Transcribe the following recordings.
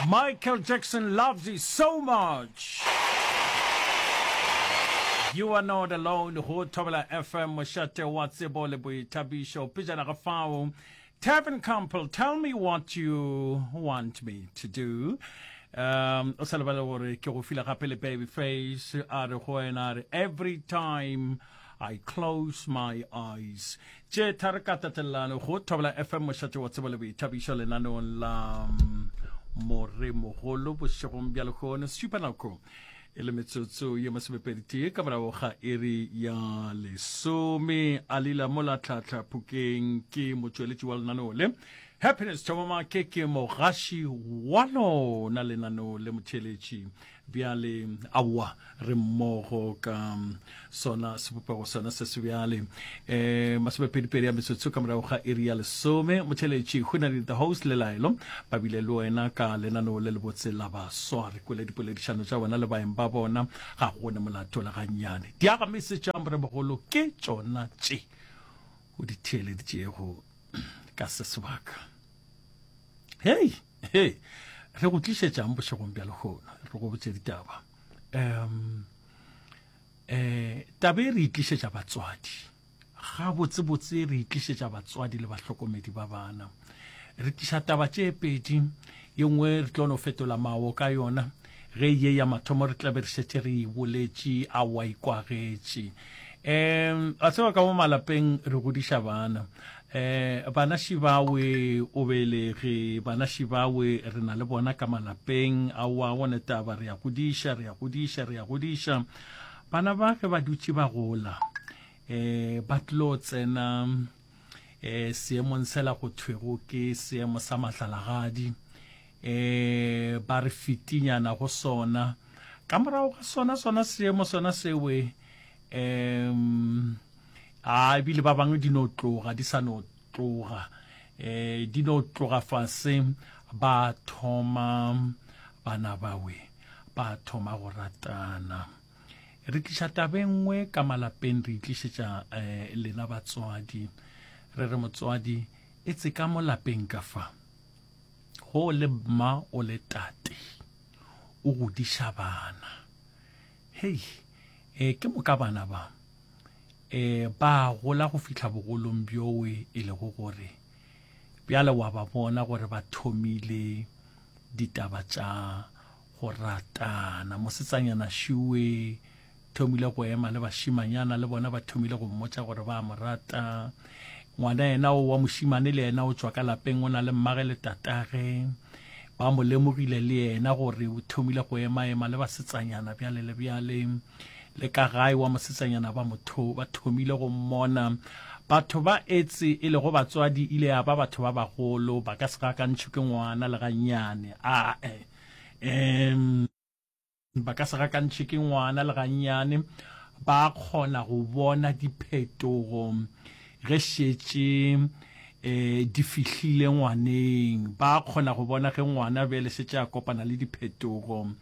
Michael Jackson loves you so much. You are not alone go Thobela FM mošate wa tsebo le boithabišo pejana ga fao Tevin Campbell tell me what you want me to do um o sa lebale gore ke go file gape le baby face a re go wena a re every time I close my eyes Tše tharo ka tatelelano go Thobela FM mošate wa tsebo le boithabišo lenaneong la mm, Moremogolo bošegong bja lehono šupa nako e le metsotso ye masomepeditee ka morago ga iri ya lesome. Alila mola tlhatlha phokeng ke motšweletši wa lenaneo le. Happiness Thomamake ke mogaši wa lona lenaneo le motheeletši. Bjale, aowa, re mmogo ka sona sebopego sona se se bjale. Eh, masomepedipedi a metsotso ka morago ga iri ya lesome, motheletši Hunadi the host le Laelo ba bile le wena ka lenaneo le lebotse la baswa. Re kwele dipoledišano tša bona le baeng ba bona, ga go ne molato le gannyane. Diagamise tša Moremogolo ke tšona tše o di theeleditšego ka se sebaka. Hei, hei, re go tlišetšang bošegong bja lehono, re go botše ditaba. Um, eh, taba e re itlišetša batswadi. Gabotsebotse re itlišetša batswadi le bahlokomedi ba bana. Re tliša taba tše pedi, ye nngwe re tlo no fetola mawo ka yona, ge ye ya mathomo re tlabe re šetše re e boletše, a wa ikwagetše. Um, a tseba ka mo malapeng re godiša bana. Eh, bana šibawe o belege, bana šibawe re na le bona ka malapeng, aowa gone taba re ya godiša, re ya godiša, re ya godiša. Bana ba ge ba dutše ba gola, eh, ba tlo tsena eh, seemong sela go thwego ke seemo sa mahlalagadi, eh, ba re fitinyana go sona. Ka morago ga sona sona seemo sona sewe, um a ebile ba bangwe di no tloga di sa no tloga um di no tloga fase ba thoma bana bawe ba thoma go ratana re tliša taba e nngwe ka malapeng re itlišetša um lena batswadi re re motswadi e tse ka mo lapeng ka fa go le mma o le tate o godiša bana Hei, e, ke moka bana ba, e, ba gola go fihla bogolong bjowe e lego gore bjale wa ba bona gore ba thomile ditaba tša go ratana. Mosetsanyana šuwe thomile go ema le bašimanyana le bona ba thomile go mmotša gore ba mo rata. Ngwana yena o wa mošimane le yena o tšwa ka lapeng o na le mmage le tatage. Ba mo lemogile le yena gore o thomile go emaema le basetsanyana bjale le bjale. Le ka gae wa mosetsanyana ba mo tho, ba thomile go mmona. Batho ba etse e lego batswadi ile ya ba batho ba bagolo, ba ka se gakantšhwe ke ngwana le gannyane. Ae. Em. Ba ka se gakantšhe ke ngwana le gannyane, ba kgona go bona diphetogo ge šetše um di fihlile ngwaneng. Ba kgona go bona ge ngwana bjale šetše a kopana le diphetogo um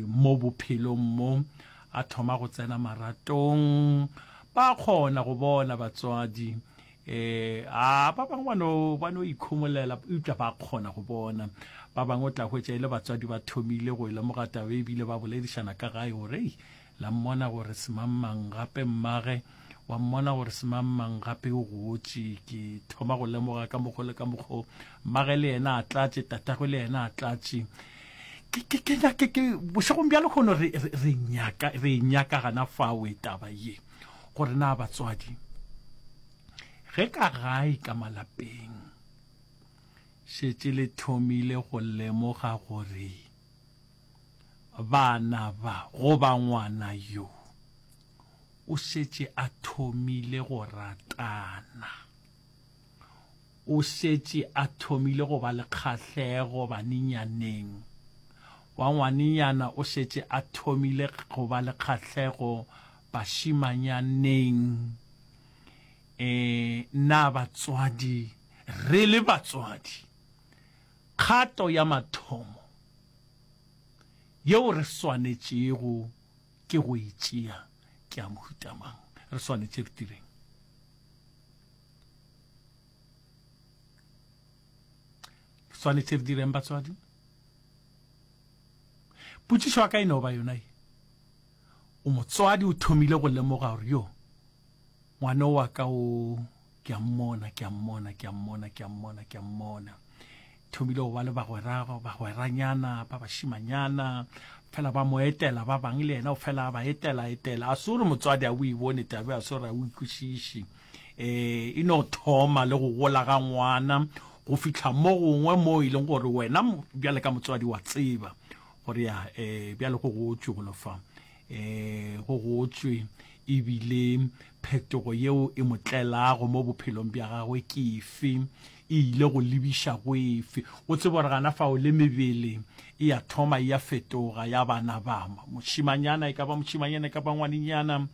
mo bophelong mo, a thoma go tsena maratong. Ba kgona go bona batswadi Eh, a ba bangwe ba no ba no ikhomolela eupša ba kgona go bona. Ba bangwe o tla hwetša e le batswadi ba thomile go e lemoga taba ebile ba boledišana ka gae gore ei la mmona gore semangmang gape mmage wa mmona gore semangmang gape o gotše ke thoma go lemoga ka mokgo le ka mokgo mmage le yena a tlatše tatagwe le yena a tlatše ke ke ke nyake ke bošegong bja lehono re re nyaka re nyaka gana fawe taba ye gore na batswadi ge ka gae ka malapeng šetše le thomile go lemoga gore bana ba goba ngwana yo o šetše a thomile go ratana O šetše a thomile go ba le kgahlego banenyaneng. Wa ngwanenyana o šetše a thomile go ba le kgahlego bašimanyaneng. E, na batswadi, re le batswadi, kgato ya mathomo yeo re swanetšego ke go e tšea ke ya mohuta mang? Re swanetše re direng? Re swanetše re direng batswadi? Potšišo ya ka e no ba yona ye, O motswadi o thomile go lemoga gore yo ngwana wa ka o ke a mmona, ke a mmona, ke a mmona, ke a mmona, ke a mmona. Thomile go ba le bagwera, bagweranyana ba bašimanyana, fela ba mo etela ba bang le yena o fela a ba etela etela. A se gore motswadi a o e bone tabe, a se gore a o ikwešiše. Eh, e no thoma le go gola ga ngwana go fihla mo gongwe mo e leng gore wena bjale ka motswadi wa tseba gore ya eh bjale go gotšwe go lofa eh go gotšwe ebile phetogo yeo e mo tlelago mo bophelong bja gagwe ke efe e ile go lebiša go efe o tsebe gore gana fao le mebele e ya thoma e ya fetoga ya bana ba mošimanyana e ka ba mošimanyana e ka ba ngwanenyana um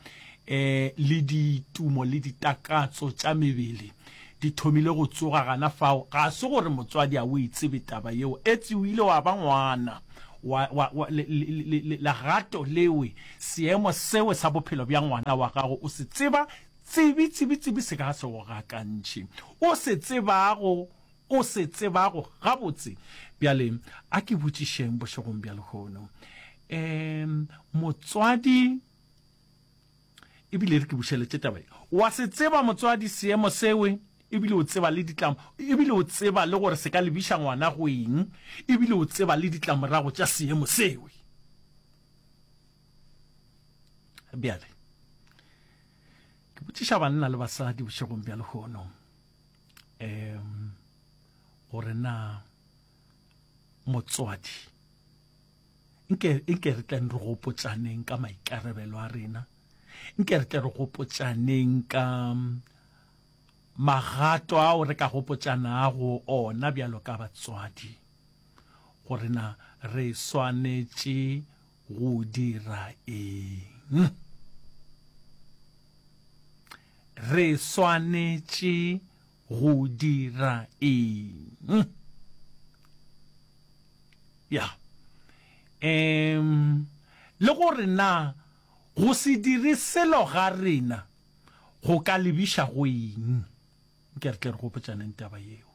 le ditumo le ditakatso tša mebele di thomile go tsoga gana fao. Ga se gore motswadi a o e tsebe taba yeo, etse o ile wa ba ngwana wa, wa, wa, le, le, le, legato lewe, seemo sewe sa bophelo bja ngwana wa gago o se tseba tsebi, tsebi, tsebi se ka se go gakantšhe. O se tsebago, o se tsebago gabotse. Bjale, a ke botšišeng bošegong bja lehono. Um, motswadi, ebile re ke bušeletše taba ye. Wa se tseba motswadi seemo sewe, ebile o tseba le ditlam, ebile o tseba le gore se ka lebiša ngwana go eng, ebile o tseba le ditlamorago tša seemo sewe. Bjale, ke botšiša banna le basadi bošegong bja lehono, um, gore na motswadi Nke, nke re tleng re gopotšaneng ka maikarabelo a rena. Nke re tle re gopotšaneng ka magato ao re ka gopotšanago ona bjalo ka batswadi, gore na re swanetše go dira eng. Re swanetše go dira eng. Ya. Um, le gore na go se dire selo ga rena go ka lebiša go eng. Nke re tle re gopotšaneng taba yeo.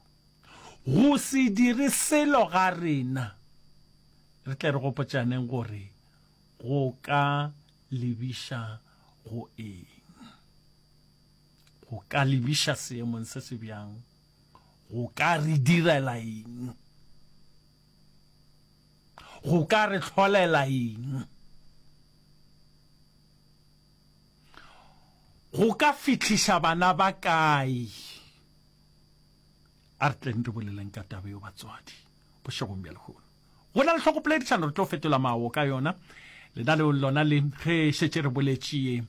Go se dire selo ga rena, re tle re gopotšaneng gore go ka lebiša go eng. Go ka lebiša seemong se se bjang? Go ka re direla eng? Go ka re hlolela eng? Go ka fihliša bana ba kae? A re tleng re boleleng ka taba yeo batswadi bošegong bja lehono. Go na le tlhokopoledišano re tlo fetola mawo ka yona. Lenaneo lona le ge šetše re boletše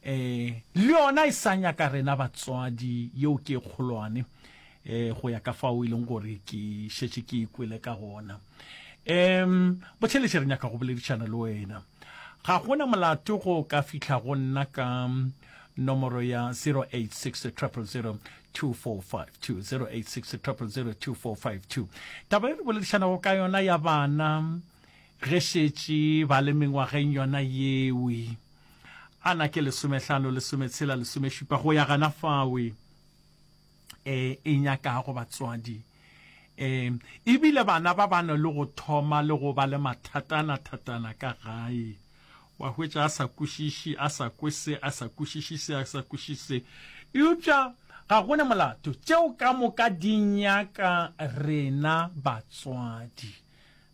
eh le yona e sa nyaka rena batswadi yeo ke e kgolwane eh go ya ka fao e leng gore ke šetše ke ikwele ka gona. Um botheletše re nyaka go boledišana le wena. Ga gona molato go ka fihla go nna ka nomoro ya 086 000 2452 086 000 2452. Taba e re boledišanago ka yona ya bana ge šetše ba le mengwageng yona yewe a na ke lesomehlano lesometshela lesomešupa go ya gana fawe e e nyakago batswadi e ebile bana ba ba na le go thoma le go ba le mathatana thatana ka gae wa hwetša a sa kwešiše a sa kwe se a sa kwešiše se a sa kwešiše se eupša ga go ne molato tšeo ka moka di nyaka rena batswadi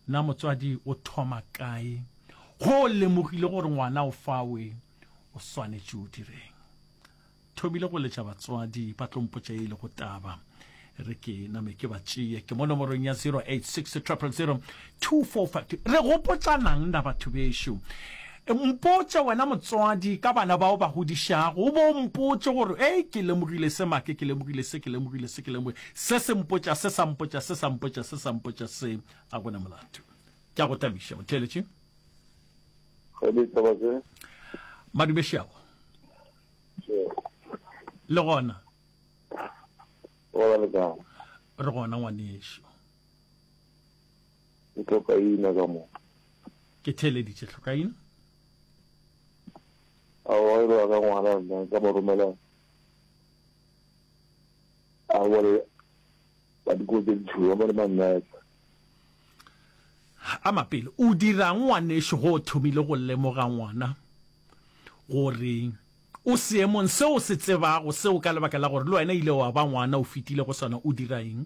na motswadi o thoma kae go lemogile gore ngwana o fawe o swanetše o direng Thomile go letša batswadi ba tlo mpotša e lego taba. Re ke name ke ba tšee. Ke mo nomorong ya 086 000 2452. Re gopotšanang na batho bešo? Mpotše wena motswadi ka bana bao ba godišago, o bo mpotše gore ei ke lemogile se make, ke lemogile se, ke lemogile se, ke lemogile se, se mpotša se, sa mpotša se, sa mpotša se, sa mpotša se. A gona molato. Ke a go tabiša motheeletši. Madume šiago. Le gona? Gona le kae? Re gona ngwanešu. Ke hlokaina ka mo. Ke theeleditše hlokaina. Aowa e ba ka ngwana nna ka mo romela a bone ba dikolo tse ditšhweu ba bone mannete. A mapele, o dirang ngwanešu go o thomile go lemoga ngwana gore o seemong seo o se tsebago seo ka lebaka la gore le wena ile wa ba ngwana o fetile go sona, o dira eng?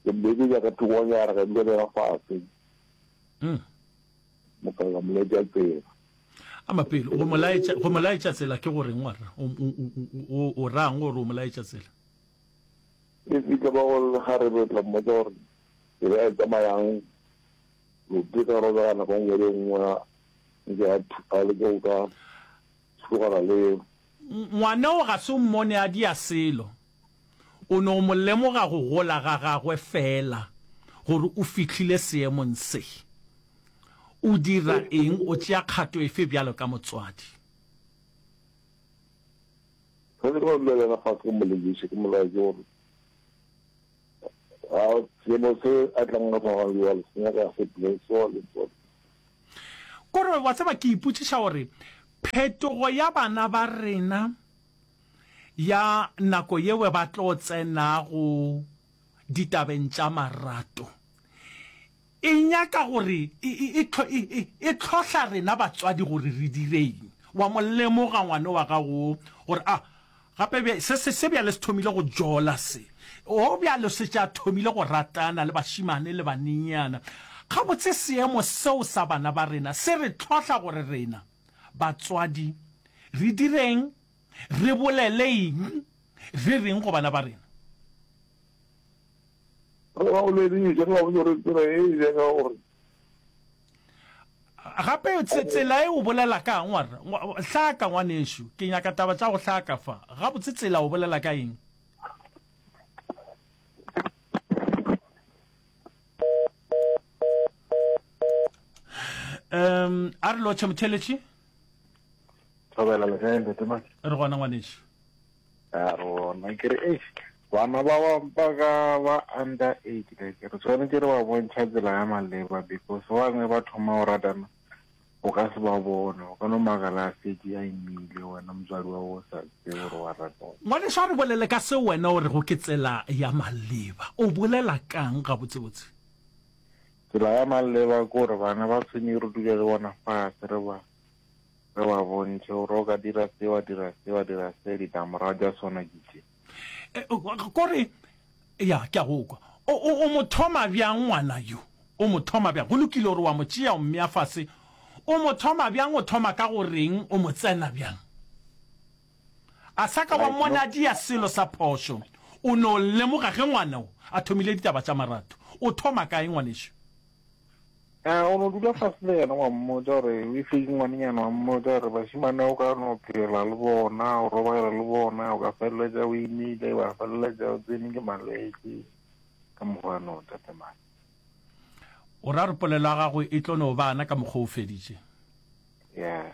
Ke mmeketša ka thokonyana ka dula le yena fase. Moka ka mo laetša tsela. A mapele, go mo laetša, go mo laetša tsela ke go reng warra? O, o, o, o rang gore o mo laetša tsela? E fihla ba go lekgarebe o tla mmotša gore tsela e tsamayang lote ka robega nako nngwe le nngwe nke a leke go ka tlogana le Ngwana o ga se o mmone a dia selo. O no mo lemoga go gola ga gagwe feela gore o fihlile seemong se. O dira eng, o tšea kgato efe bjalo ka motswadi? Ge ke tlo dula le yena fase ke mo lebiše, ke mo laetše gore a seemo se a tlang ka sona jwale se nyaka se play so le so. Kore wa tseba ke ipotšiša gore phetogo ya bana ba rena ya nako yeo ba tlo tsenago ditabeng tša marato E nyaka gore e, e, e, e hlohla rena batswadi gore re direng. Wa mo lemoga ngwana wa gago gore a gape bja, se, se, se bjale se thomile go jola se. O bjalo se tša thomile go ratana le bašimane le banenyana. Gabotse seemo seo sa bana ba rena se re hlohla gore rena batswadi re direng, re bolele eng, re reng go bana ba rena. Re ba bolediše, re ba botse gore tsela e e nyaka gore. Gape tsela e o bolela kang wa re hlaka ngwanešu, ke nyaka taba tša go hlaka fa. Gabotse tsela o bolela ka eng? Um a re lotšhe motheletši. Thobela le kae ntate Maki? Re gona ngwanešu. A re gona ke re eish bana ba ba ba ka ba under age like re tshwanetse re ba bontšha tsela ya maleba because ba bangwe ba thoma go ratana o ka se ba bone o ka no makala a fetše a imile wena motswadi wa go sa tsebe gore wa ratana. Ngwanešu a re bolele ka seo wena o rego ke tsela ya maleba. O bolela kang gabotsebotse? Tsela ya maleba ke gore bana ba tshwenye re dule le bona fase re ba Re ba bontšhe gore o ka dira se, wa dira se, wa dira se, ditlamorago tša sona ke tše. Eh, kore, ya, ke a go kwa. O, o, o mo thoma bjang ngwana yo? O mo thoma bjang? Go lokile gore wa mo tšea, o mmea fase. O mo thoma bjang? O thoma ka go reng? O mo tsena bjang? A sa ka wa mmona a dia selo sa phošo. O no lemoga ge ngwana o a thomile ditaba tša marato. O thoma kae, ngwanešu? A o no dula fase le yena wa mmotša gore o ife ke ngwanenyana wa mmotša gore bašemane o ka no phela le bona o robala le bona o ka feleletša o imile wa feleletša o tsene ke malwetši ka mokgwa no tate mane. O ra gore polelo ya gago e tlo no bana ka mokgwa o feditše? Yeah.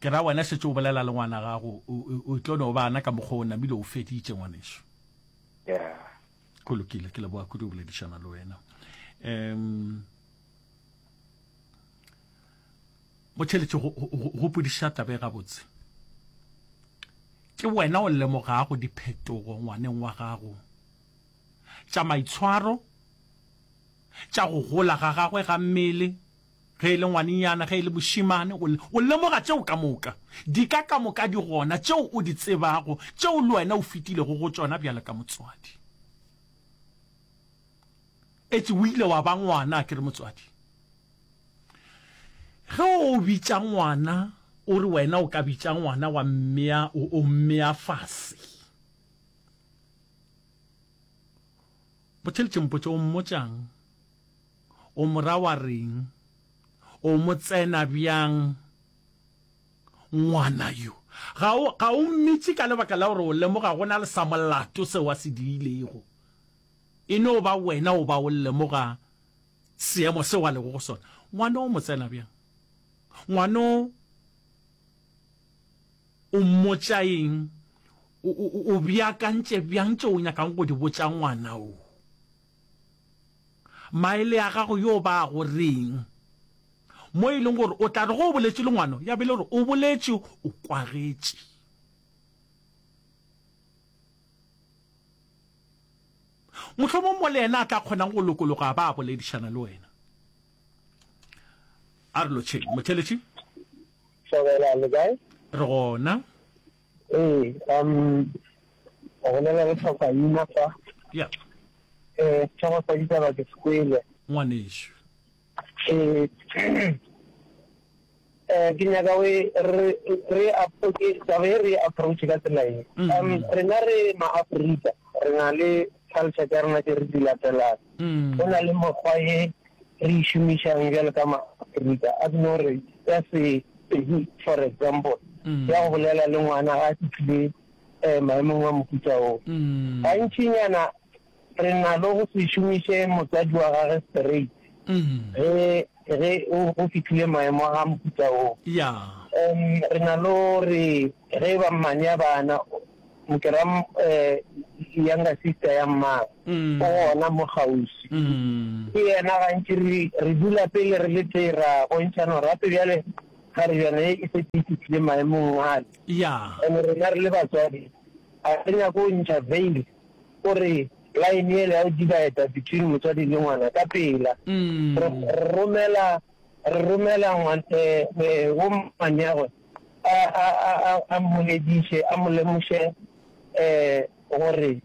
Ke ra wena šetše o bolela le ngwana gago o tlo no bana ka mokgwa o namile o feditše ngwanešu. Yeah. Go lokile, ke leboga kudu go boledišana le wena. Um Motšheletše go gopodiša taba e gabotse. Ke wena o lemogago diphetogo ngwaneng wa gago tša maitshwaro, tša go gola ga gagwe ga mmele, ge e le ngwanenyana, ge e le mošemane, o lemoga tšeo ka moka. Dika ka moka di gona tšeo o di tsebago, tšeo le wena o fetilego go tšona bjalo ka motswadi. Etše o ile wa ba ngwana, a ke re motswadi? Ge o bitša ngwana, o re wena o ka bitša ngwana wa mmea, o mmea fase. Botheletše mpotše o mmotšang? O mo ra wa reng? O mo tsena bjang ngwana yo? Ga o, ga o mmitše ka lebaka la gore o lemoga go na le sa molato seo a se diilego. E no ba wena o ba o lemoga seemo seo a lego go sona. Ngwana o mo tsena bjang? Ngwana o, o mmotša eng? O, o, o beakantše bjang tšeo o nyakang go di botša ngwana o? Maele a gago yo ba go reng? Mo e leng gore o tla re ge o boletše le ngwano, ya be e le gore o boletše o kwagetše. Mohlomong mo le yena a tla kgonang go lokologa a ba a boledišana le wena. A re lotšheng. Motheletši. Thobela, le kae? Re gona. Ee, um, o bolela le Tlhokaina fa. Ya. Eh, sehlogo sa ditaba ke se kwele. Ngwanešu. Ee, eh, ke nyaka o e re re okay, taba e re approach ka tsela e. Mm. Um, rena re ma-Afrika, re na le culture tša rena tše re di latelang. Mm. Go na le mokgwa ye re e šomišang bjalo ka ma-Afrika, a ke no re ya Sepedi for example, mm. ya go bolela le ngwana ga a fihlile um maemong a mohuta oo. Mm. Gantšinyana re na le go se šomiše motswadi wa gage straight ge ge go fihlile maemo a mohuta oo. Um re na le gore ge e ba mmane ya bana ke ra um younger sister ya mmagwe o gona mo kgauswi, ke yena gantši re re dula pele re le tee ra bontšhana gore gape bjale kgarebjana ye e šetše e fihlile maemong ale. And rena re le batswadi ga re nyake go ntšha veil gore line yela ya go divider between motswadi le ngwana ka pela. Re romela re romela wo mmaneagwe a a a a mmolediše a mo lemoše gore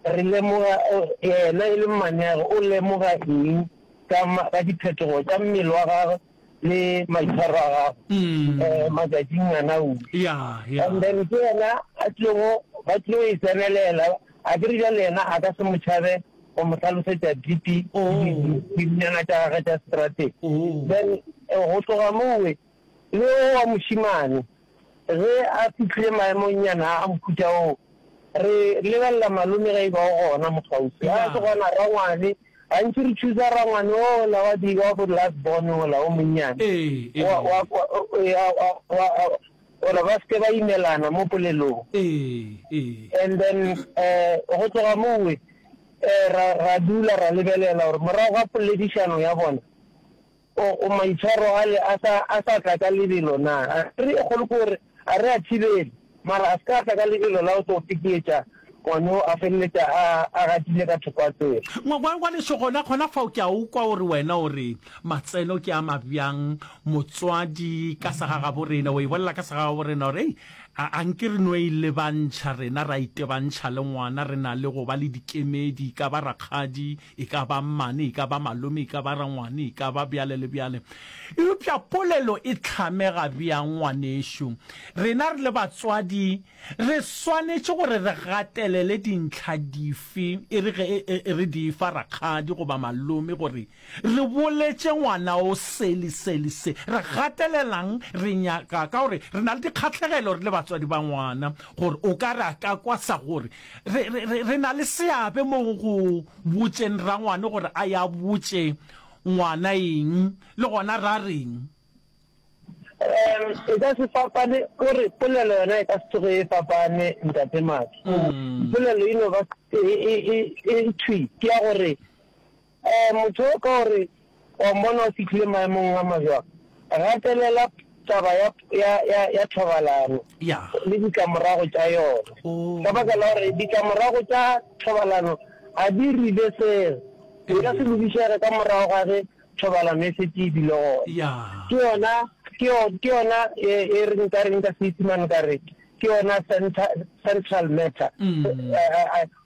re lemoga yena e le mmaneagwe o lemoga eng ka ka diphetogo tša mmele wa gagwe le maitshwaro a gagwe um matšatšing ana o. And then ke yena a tlilego ba tlilo e tsenelela a ke re bjale yena a ka se mo tšhabe go mo hlalosetša deep dinyana tša gagwe tša seterateng. Then go tloga mowe le o wa mošemane ge a fihlile maemongnyana a mohuta oo re lebelela malome ge e ba o gona mo kgauswi. Ga a se gona rangwane Gantši re chooser rangwane ola wa di wa bo last born ola o monnyane. Ee, ee. Wa wa wa wa wa gore ba seke ba imelana mo polelong. Ee, ee. And then eh go tloga mowe eh ra ra dula ra lebelela gore morago ga poledišano ya bona O, o maitshwaro ale a sa, a sa tla ka lebelo na? A re, e kgolo ke gore a re a thibele, mara a se ka a tla ka lebelo la go tlo fekeetša ngwana o a feleletša a, a gatile ka thoko a tsela. Ngwa, ngwa, ngwaneso, gona, gona fao ke a o kwa o re wena o re matseno ke a mabjang, motswadi ka segagaborena, o e bolela ka segagaborena gore, ei, a, a nke re no e lebantšha rena, ra itebantšha le ngwana, re na le go ba le dikemedi, e ka ba rakgadi, E ka ba mmane, e ka ba malome, e ka ba rangwane, e ka ba bjale le bjale. Eupša polelo e hlamega bjang, ngwanešu? Rena re le batswadi re swanetše gore re gatelele dintlha dife e re ge re di fa rakgadi goba malome gore re boletše ngwana o se le se le se? Re gatelelang? Re nyaka, ka gore re na le dikgahlegelo re le batswadi ba ngwana, gore o ka re a ka kwa sa gore Re, re, re, re na le seabe mo go botšeng rangwane gore a ye a botše ngwana eng, le gona ra reng. Um, e ka se fapane, o re polelo yona e ka se tsoge e fapane, Ntate Mathe. Polelo e no ba e, e, e, e thwi, ke ya gore Um motho o ka gore wa mmona o fihlile maemong a mabjang, gatelela taba ya, ya, ya, ya thobalano Ya. le ditlamorago tša yona. Oh. Ka baka la gore ditlamorago tša thobalano ga di reversege, di ka se lokišege ka morago ga ge thobalano e šetše e bile gona. Ya. Ke yona, ke yo, ke yona e, e re nka reng ka Seisemane ka re ke yona center, central matter. Mm.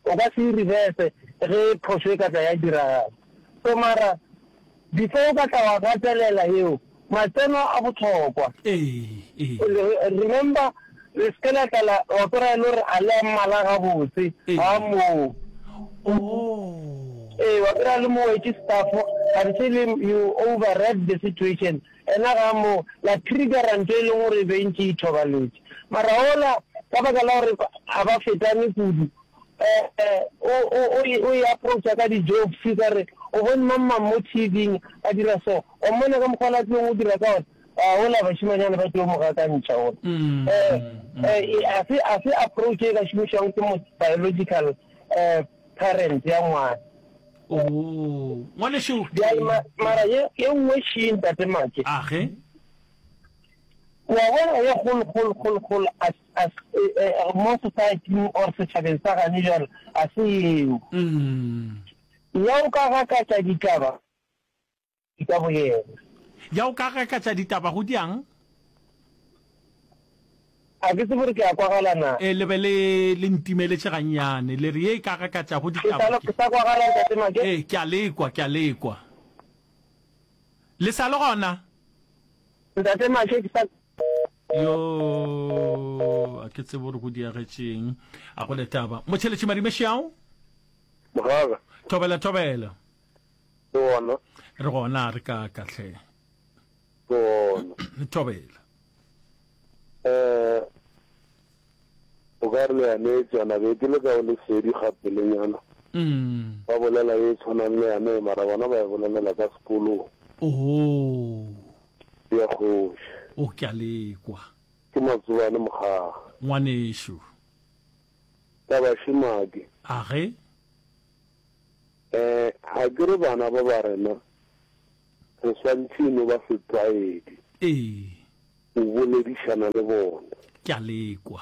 O ka se e reverse ge phošo e ka tla ya diragala. So mara before o ka tla wa gatelela yeo, matseno a bohlokwa. Ee, ee. Remember, le se ke la tla la, wa kwera e le gore a le a mmala gabotse, ga moo. Oh. Ee, wa kwera le mo wetše staff, kganthe le you overread the situation. Ena ga mo la triggera ntho e leng gore e be e ntše e ithobaletše. Mara ola, ka baka la gore ga ba fetane kudu, o, o, o e, o e approacha ka di-jokes, ka re, O bone mang-mang mo TV-ing a dira so? Wa mmona ka mokgwa o la tlileng go dira ka ona? A ola bašemanyana ba tlilo mo gakantšha ola. A se, a se approach e ka šomišwago ke mo biological parent ya ngwana. Oh, ngwanešu. Bjale ma, mara ye, ye nngwe še, Ntate Make. Age. Wa bona ye kgolo, kgolo, kgolo, kgolo, a. A mo society-ing or setšhabeng sa gane bjalo a se eo. Ya o ka gakatša ditaba ka boyena. Ya o ka gakatša ditaba go diang? A ke tsebe gore ke a kwagala na. Ee, le be le le ntimeletše gannyane. Le re ye e ka gakatšago ditaba ke. Ke sa kwagala Ntate Make? Ee, ke a le kwa, ke a le kwa. Le sa le gona? Ntate Make, ke sa. Yo, a ke tsebe gore go diagetšeng. A go le taba. Motšheletši Madimešao? Mogaka. Thobela, thobela. Re gona. Re gona, re ka ka hle. Re gona. Thobela. Eh, o ka re le yane tswana be ke le ka o lesedi gapelenyana. Mm. Ba bolela e tshwanang le yane mara bona ba e bolelela ka sekolong. Oh. Ya kgoši. O ke a lekwa. Ke matsobane mogaga. Ngwanešu. Taba šemake. A ge? Eh, a ke re bana ba ba rena re swantšhe e no ba setlwaedi. Ee. O boledišana le bona. Ke a lekwa.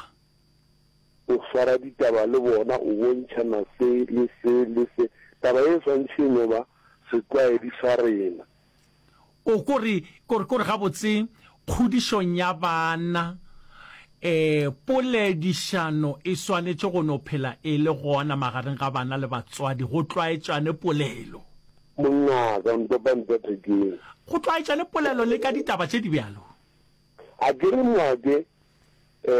O swara ditaba le bona, o bontšhana se le se le se. Taba ye e swantšhe e no ba setlwaedi sa rena. O ko re, ko re, ko re gabotse, kgodišong ya bana, e, poledišano e swanetše go no phela e le gona magareng ga bana le batswadi, go tlwaetšane polelo. Mongaka, ntopa ntle thekeng. Go tlwaetšane polelo le ka ditaba tše di bjalo. A ke re Moake, e,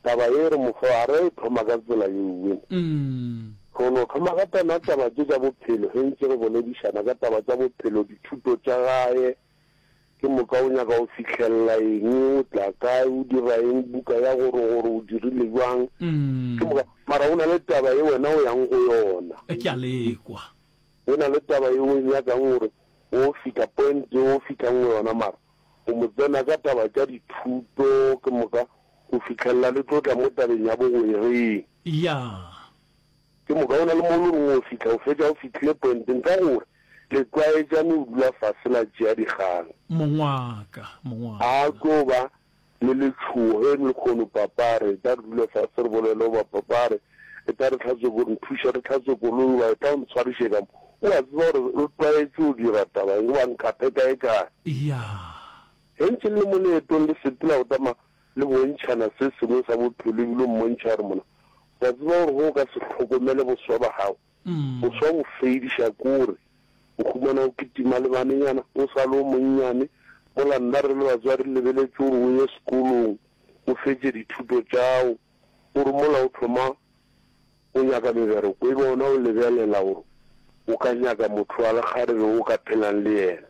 Taba ye re mo fa, a re e thoma ka tsela yeuwe. Re no thoma ka tona taba tše tša bophelo, ge ntše re boledišana ka taba tša bophelo, dithuto tša gae, ke moka o nyaka go fihlelela eng, o tla kae, o dira eng, buka ya gore gore o dirile bjang, ke moka. Mara go na le taba ye wena o yang go yona. Ke a le kwa. Go na le taba ye o e nyakang gore o fihla point ye o fihlang go yona, mara o mo tsena ka taba tša dithuto, ke moka go fihlelela le tlo tla mo tabeng ya bogwereng. Ya. Ke moka o na le mo o le reng o fihla, o fetša o fihlile pointeng ka gore le tlwaetšane o dula fase la tšea dikgang. Mongwaka, mongwaka. A tlo ba le letšhogo ge lekgono papa a re, Etla re dule fase re bolele goba papa a re, Etla re hlatswe ko, nthuše re hlatswe koloi goba etla o ntshwariše ka mo. O a tseba gore re tlwaetše go dira taba eng goba nkaphe kae kae. Ya. Ge ntše le le mo leetong le sepela go tama le bontšhana se sengwe sa bophelo ebile o mmontšha gore mona wa tseba gore ge o ka se hlokomele boswa ba gago, boswa bo fediša kore o humana o kitima le banenyana o sa le o monnyane, mola nna re le batswadi re lebeletše gore o ye sekolong o fetše dithuto tšao, gore mola o thoma o nyaka mebereko e be ona o lebelela gore o ka nyaka motho wa lekgarebe o ka phelang le yena.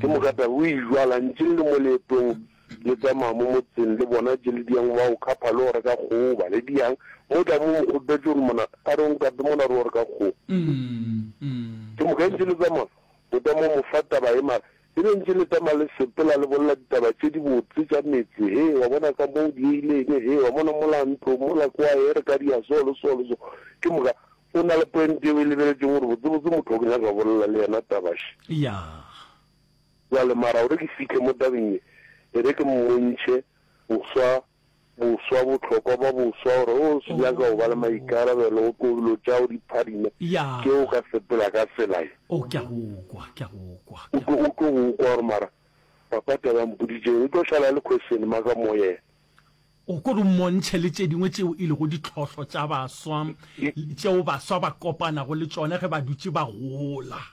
Ke moka taba o e jwala ntše le le mo leetong le tsamaya mo motseng le bona tše le diang ba o khapha le go reka kgogo ba le diang mo tla mo mo kgopetše gore mona a re o nkape mona re o reka kgogo. Ke moka ntše le tsamaya o tla mo mo fa taba e mara E be ntše le tama le sepela le bolela ditaba tše dibotse tša metse, Hee, wa bona ka mo o dieile eng, hee, wa bona mola ntlo, mola kwa, hee, re ka dia so le so le so. Ke moka, o na le point yeo e lebeletšeng gore botsebotse motho o ke nyaka go bolela le yena taba še. Ya. Bjale, mara gore ke fihle mo tabeng ye, e re ke mmontšhe boswa Boswa, bohlokwa ba boswa, gore o se nyaka go ba le maikarabelo, o tlo dilo tšao di phadime, Ya. ke o ka sepela ka tsela ye. O, ke a go kwa, ke a go kwa, O ke a tlo, go o tlo go kwa gore mara papa taba a mpoditšeng, e tlo šala e le question mark mo yena. O ko re o mmontšhe le tše dingwe tšeo e lego ditlhohlo tša baswa, tšeo baswa ba kopanago le tšona ge ba dutše ba gola.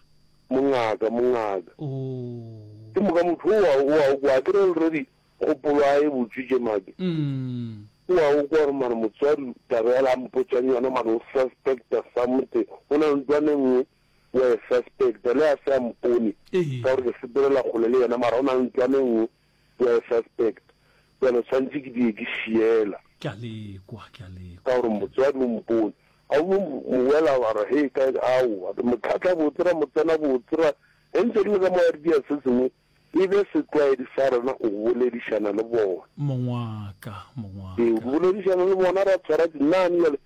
Mongaka, mongaka. O. Ke moka motho o a, o a o kwa, akere already Kgopolo a e botšitše Make. O a o kwa gore mare motswadi taba yala a mpotšang yona mare o suspecta something. Go na le ntwana e nngwe o a e suspecta le a se a mpone ka gore ke sepelela kgole le yena mara go na le ntwana e nngwe o a e suspecta. Bjale tshwanetše ke die ke šiela. Ke a le kwa, ke a le kwa. Ka gore motswadi o mpone. A o mo wela wa re hei kae, aowa re mo tlhatla botse ra mo tsena botse ra ge ntse re le ka mo a re dia se sengwe E be setlwaedi sa rena go boledišana le bona. Mong wa ka, mong wa ka. Ee, go boledišana le bona, ra tshwara dinane bjale.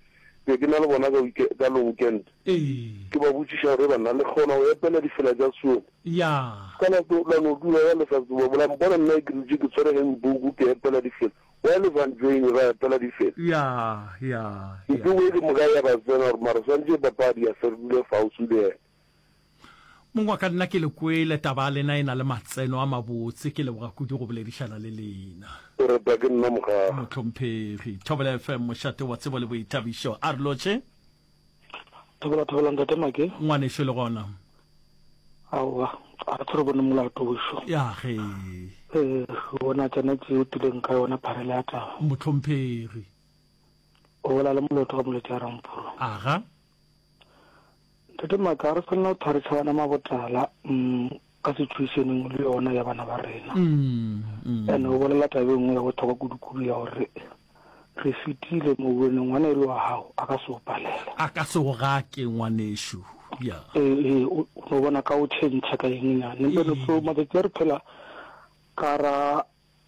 Be ke na le bona ka week, ka long weekend. Ee. Ke ba botšiša gore, Banna, le kgona go epela difela tša Sione? Ya. Ka la tlo, la no dula ya le sa tseba. La mpona nna ke dutše ke tshwere handbook ke epela difela. Wa le Van Jane ba epela difela. Ya, ya, ya. Ntlo e ke moka ya ba tsena gore mara swantše papadi ya se re dule fauswi le yena. Mong wa ka nna ke le kwele taba ya lena e na le matseno a mabotse ke leboga kudu go boledišana le lena. O retwa ke nna mogaga. Mohlomphegi. Thobela FM mošate wa tsebo le boithabišo. A re lotšhe. Thobela thobela ntate Make. Ngwanešu le gona. Aowa, a re re bone molato wešo. Ya ge. Eh, bona tsena tse o tileng ka yona pharela ya taba. Mohlomphegi. O bola le moloto ka molete ya Rampuru. Aga. Ntate Maka, ga re tshwanela go thwa re tšhabana mabotala mm, ka situation le yona ya bana ba rena. Mm, mm. And o bolela taba e nngwe ya bohlokwa kudu-kudu ya gore re fetile mo wene ngwana e le wa gago a ka se o palela. A ka se o gake ngwanešu. Ya. Ee, ee, o o no bona ka o change ka eng nyane. Empa no so matsatsi a re phela ka ra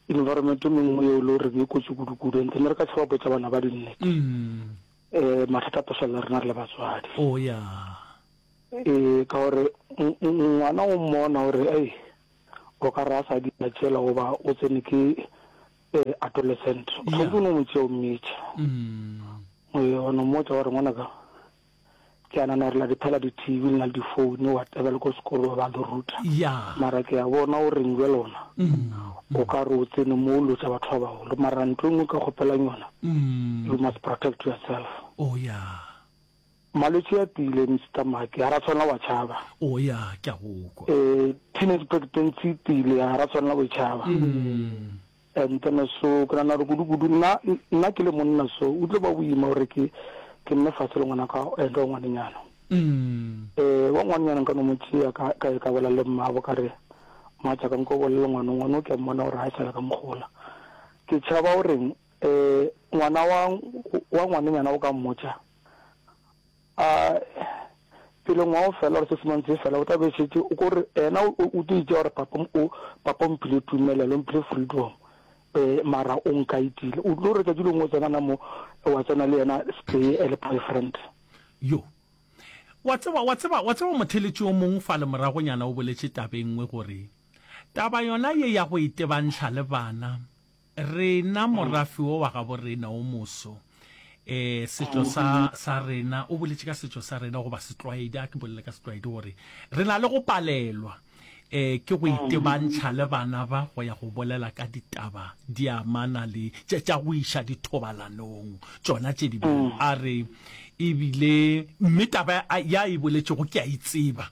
environment e mengwe yeo e le goreng e kotsi kudu-kudu and then re ka tšhaba botša bana ba dinnete. Mm. Eh, mathata a tlo rena re le batswadi. Oh ya. Ee, ka gore ngwana o mmona gore ei o ka re a sa dira tšela goba o tsene ke eh, adolescent o tshwanetse o no mo tšea o mmitša. Mm. Ee, wa no mmotša gore ngwanaka ke a nana gore la di phela di-tv le na le di-phone whatever le ko sekolo ba le ruta Ya. mara ke a bona o reng bjale ona Mm. o ka re o tsene mo o lotša batho ba bagolo mara ntho e nngwe ka kgopelang yona Mm. you must protect yourself Oh ya. malwetši a tile Mister Maki ga ra tshwanela wa tšhaba Oh ya, ke a go kwa. um teenage pregnancy e tile ga ra tshwanela go e tšhaba Mm. And then so ke nagana gore kudu-kudu nna nna ke le monna so o tlo ba boima gore ke ke nne fase le ngwana ka and wa ngwanenyana. Mm. Eh wa ngwanenyana nka no mo tšea ka ka ka bolela le mmabo ka re mmatša ka nko bolele ngwana ngwana o ke a mmona gore ga e sa le ka mogola. Ke tšhaba goreng eh ngwana wa wa ngwanenyana o ka mmotša A pele ngwaga o fela or six months e fela o tla be šetše o ko re ena o o tlo itšea gore papa o papa o mphile tumelelo o mphile freedom um mara o nkaitile o tlo re tšatši lengwe o tsena na mo wa tsena le yena stay e le boyfriend. Yo. Wa tseba, wa tseba, wa tseba motheletši o mong fale moragonyana o boletše taba e nngwe gore taba yona ye ya go itebantšha le bana Rena, morafe wo wa gabo rena o moso, e, setšo sa, sa rena, o boletše ka setšo sa rena goba setlwaedi, a ke bolele ka setlwaedi gore re na le go palelwa e, ke go itebantšha le bana ba go ya go bolela ka ditaba di amana le tše tša go iša dithobalanong tšona tše di bjalo. A re ebile mme taba ya e boletšego ke a e tseba.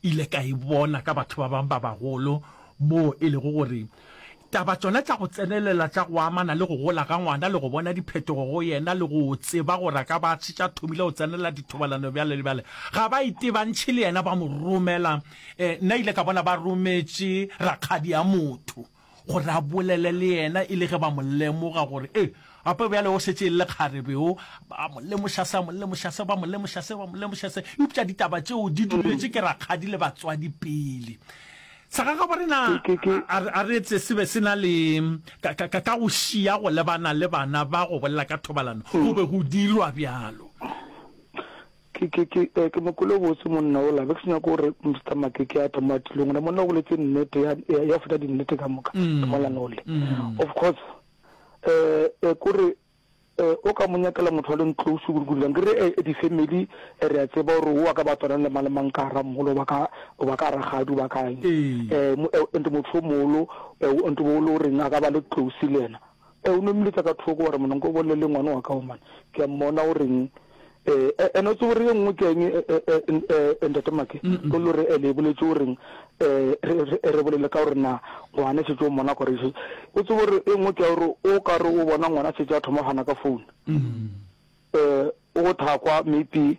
Ile ka e bona ka batho ba bangwe ba bagolo moo e lego gore taba tšona tša go tsenelela tša go amana le go gola ga ngwana le go bona diphetogo go yena le go tseba gore a ka ba a šetše a thomile go tsenelela dithobalano bjale le bjale, ga ba itebantšhe le yena ba mo romela. Nna ile ka bona ba rometše rakgadi ya motho gore a bolele le yena e le ge ba mo lemoga gore e gape bjale o šetše e le lekgarebe o, ba mo lemoša se, a mo lemoša se, ba mo lemoša se, ba mo lemoša se, eupša ditaba tšeo di duletše ke rakgadi le batswadi pele. Sa gagabo rena a re etse se be se na le ka, ka, ka go šia go lebana le bana ba go bolela ka thobalano, go be go dirwa bjalo. Ke, ke, ke, eh, ke mo kwele botse monna ola, be ke se nyake gore Mister Makeke a tle mo a tlileng gona. Monna o boletse nnete ya, ya, ya feta dinnete ka moka, Molana ole. Of course, eh, eh, kore, eh, o ka mo nyakela motho a leng close kudu-kudu jang. Ke re, eh, di-family, eh, re a tseba gore o a ka ba tswana le mang le mang ka gara mogolo, ba ka, ba ka rakgadi, ba ka eng. Eh, mo, eh, and motho o mogolo, eh, and o le goreng a ka ba le close le yena. Eh, o no mmiletša ka thoko wa re, Monna, nko bolele le ngwana wa ka o man. Ke a mmona o reng. Eh, eh, ene o tsebe gore ye nngwe ke eng, eh, eh, eh, eh, Ntate Make? Ke le gore, eh, le e boletše o reng, eh, re, re, re bolele ka gore na ngwana šetše o mmona gore šetše. O tsebe gore e nngwe ke ya gore o ka re o bona ngwana šetše a thoma go gana ka phone. Eh, o thakwa maybe,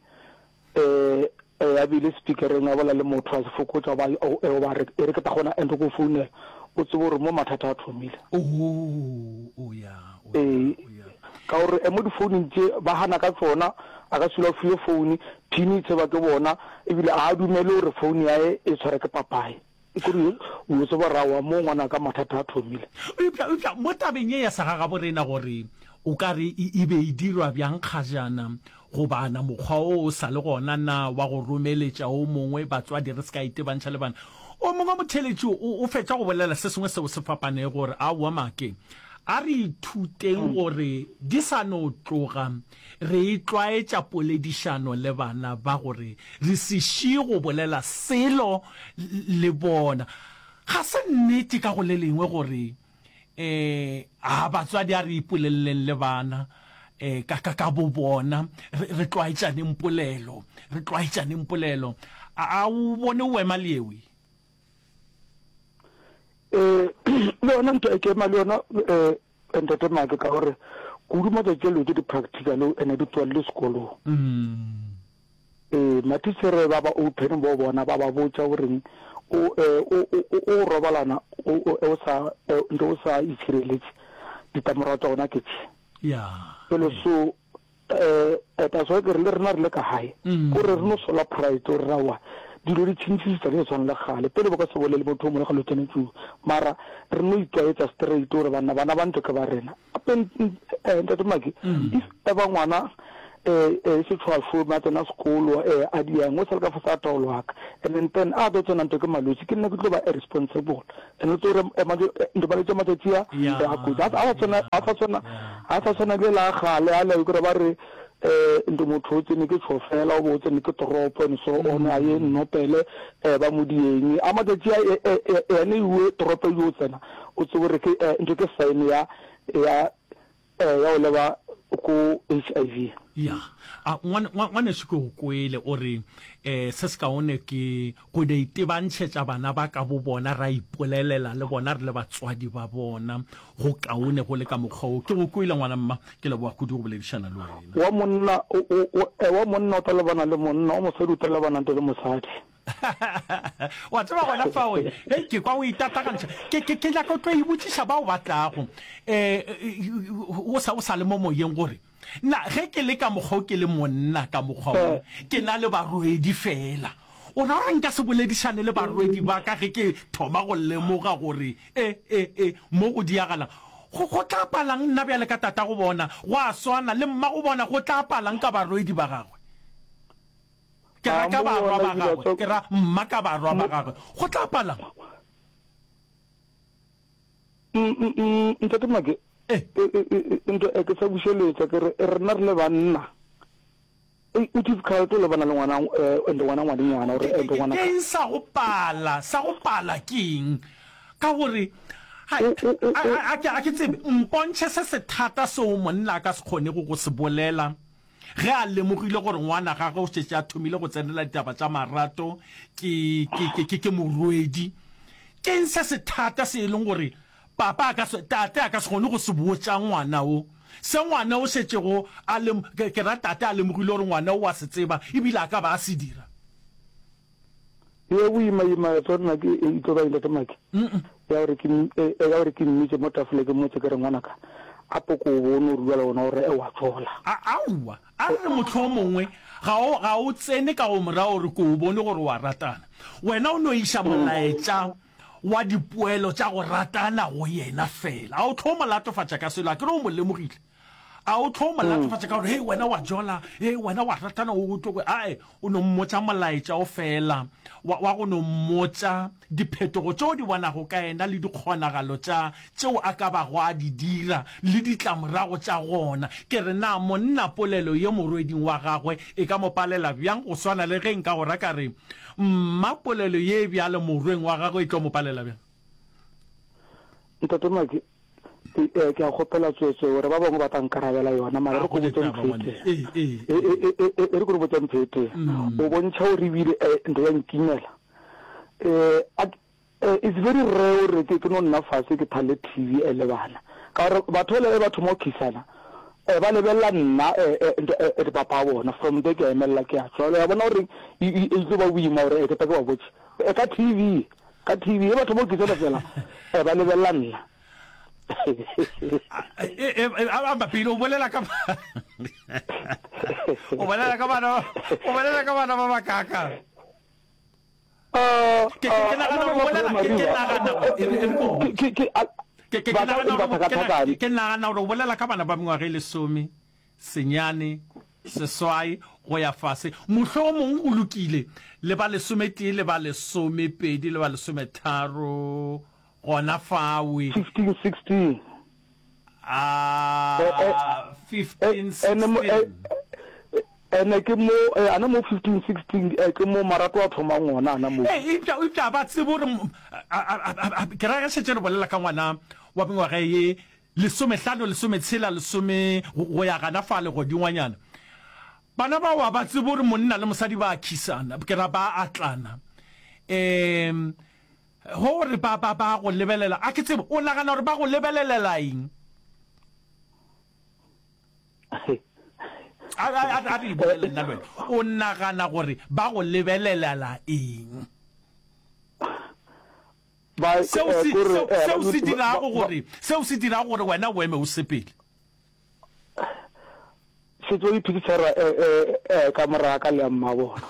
eh, eh, a beile speakereng a bolela le motho a se fokotša goba, eh, goba re, e re ke tla kgona and go founela. O tsebe gore mo mathata a thomile. Oh, oh ya, oh ya, Ee, oh ya. ka gore eh, mo difounung tše ba gana ka tsona, a ka se dula a fiwe foune, pin e tseba ke bona, ebile a dumele gore foune yae e tshware ke papae. E kore o yo tseba gore aowa mo ngwanaka mathata a thomile. Eupša, eupša mo tabeng ye ya segagabo rena gore o ka re e, e be e dirwa bjang kgajana, goba na mokgwa wo o sa le gona na wa go romeletša o mongwe batswadi re se ka itebantšha le bana? O mongwe motheeletši o, o fetša go bolela se sengwe seo se fapanego gore aowa make. A re ithuteng gore di sa no tloga re itlwaetša poledišano le bana ba gore re se šie go bolela selo le bona. Ga se nnete ka go le lengwe gore um a batswadi a re ipoleleleng le bana um ka, ka, ka bobona, re, re tlwaetšaneng polelo, re tlwaetšaneng polelo. A, a o bone o ema le ewe? Eh, le yona ntho e ke ema le yona um ntate Make ka gore kudu matšatši a dilo tse di practical ene di tswalele sekolong. Mm. Ee, matichere ba ba open bo bona ba ba botša goreng o eh, o o o robalana o o sa eh, ntho o sa itshireletše ditlamorago tša gona ke tše. Ya. Jalo so eh that's why ke re le rena re le ka gae ko re re no sola pride gore rawa dilo di tšhentšhisitsa di sa tshwane le kgale pele bo ka se bolele motho o mongwe ga lo tsene tšuu mara re no itlwaetsa straight gore banna bana ba ntlo ke ba rena gape ntate Maki if ever ngwana eh eh se tshwa šome a tsena sekolo eh a diang o sa le ka fase a taolo wa ka and then then a tlo tsena ntho ke malwetši ke nna ke tlo ba irresponsible and o tlo re ntho malwetši a matšatši a a kotsi a sa tshwana a sa tshwana a sa tshwana le la kgale a le kore ba re um ntho motho o tsene ke tšhofela o bo o tsene ke toropo and so on a ye nnopele um ba mo dieng a matšatši a ene iwe toropo yo tsena o tsebe gore ke ntho ke sign ya ya ya go leba ko HIV. Ya. A ngwaneso ke go kwele o re um se se kaone ke go no itebantšhetša bana ba ka bo bona ra ipolelela le bona re le batswadi ba bona go kaone go le ka mokgwa wo. Ke go kwele ngwana mma, ke leboga kudu go boledišana le wena. Wa monna o, o, o, wa monna o tla lebana le monna, wa mosadi o tla lebana le mosadi. Wa tseba gona fao, hei, ke kwa o itatagantšha. Ke, ke, ke nyaka o tlo e botšiša bao ba tlago, um o sa, o sa le mo moyeng gore, Na ge ke le ka mokgwa o ke le monna ka mokgwa wo, ke na le barwedi feela, o ra gore nka se boledišane le barwedi ba ka ge ke thoma go lemoga gore e, e, e, mo go diagalang? Go, go tla palang nna bjale ka tatago bona? Go a swana le mmago bona, go tla palang ka barwedi ba gagwe? Ke ra ka barwa ba gagwe, ke ra mma ka barwa ba gagwe. Go tla palang? Ntate Make, nto e ke sa bušeletša ke re rena re le banna o difficult o lebana le ngwana and ngwana ngwanenyana gore and ngwana ke eng sa go pala sa go pala ke eng ka gore a ke tsebe mpontšhe se se thata seo monna a ka se kgonego go se bolela Ge a lemogile gore ngwana gagwe o šetše a thomile go tsenela ditaba tša marato ke, ke, ke, ke, ke morwedi, ke'ng se se thata se e leng gore papa a ka se, tate a ka se kgone go se botša ngwana wo? Se ngwana o šetšego a lem, ke, ke ra tate a lemogile gore ngwana o a se tseba ebile a ka ba a se dira. Ye boima-ima ya tsona ke e tlo ba eng Tate Maki? Ya gore ke ya gore ke mmitše mo tafole ke mmotse ke re ngwanaka a poko o bone o rua le gona gore wa tšola. A aowa, a re re mohlomongwe ga o ga o tsene ka go mo raya gore ke o bone gore wa ratana. Wena o no iša molaetša wa dipoelo tša go ratana go yena fela. A o tlo mo latofatša ka selo, akere o mo lemogile. A o tlo mo latofatša ka gore, Hei, wena wa jola, hei, wena wa ratana, o tlo. Ae, o no mmotša molaetša o fela wa, wa go no mmotša diphetogo tše o di bonago ka yena le dikgonagalo tša tšeo a ka bago a di dira le ditlamorago tša gona. Ke re, na monna polelo ye morweding wa gagwe e ka mo palela bjang go swana le ge nka go ra ka re, Mma polelo ye bjalo morweng wa gagwe e tlo mo palela bjang? Ntate Maki, Ke, ke a kgopela tsweetswee gore ba bangwe ba tla nkarabela yona, mara re ko botse ntho e tee. E, e, e, e, e re ko re botse ntho e tee. O bontšha gore ebile ntho ya nkimela. A, it's very rare gore ke, ke no nna fase ke thale TV le bana. Ka gore batho bale ge ba thoma go khisana, ba lebelela nna, ntho, papa wa bona. From there ke a emelela ke a tšwa. Ya bona gore e, e, e tlo ba boima gore ke tla ke ba botše. Ka TV, ka TV, ge ba thoma go khisana fela, ba lebelela nna. A pele o bolela ka o bolela ka bana o bolela ka bana ba bakaka ke ke nagana o bolela ke nagana ke ke ke nagana gore o bolela ka bana ba mengwaga e lesome senyane seswai go ya fase mohlomong go lokile le ba lesometee le ba lesomepedi le ba lesometharo Gona fawe. 15, 16. Ah, 15, 16. Ene ke mo, ana mo 15, 16, ke mo marato a thomang gona, ana mo. Ee, eupša, eupša ba tsebe gore, ke ra ge šetše re bolela ka ngwana wa mengwaga ye lesomehlano, lesometshela, lesome, go ya gana fale godingwanyana. Bana bao ga ba tsebe gore monna le mosadi ba a khisana, ke ra ba atlana. Um, gore ba, ba, ba go lebelela, a ke tsebe, o nagana gore ba go lebelelela eng? A, a, a, a re e bolele nna le wena. O nagana gore ba go lebelelela eng? Ba, Seo eh, se, kore, seo, eh, seo se ba, dirago ba, gore, seo se dirago gore wena o eme o sepele. Šetše o iphikišara eh, eh, eh, ka mora ka le ya mmabona.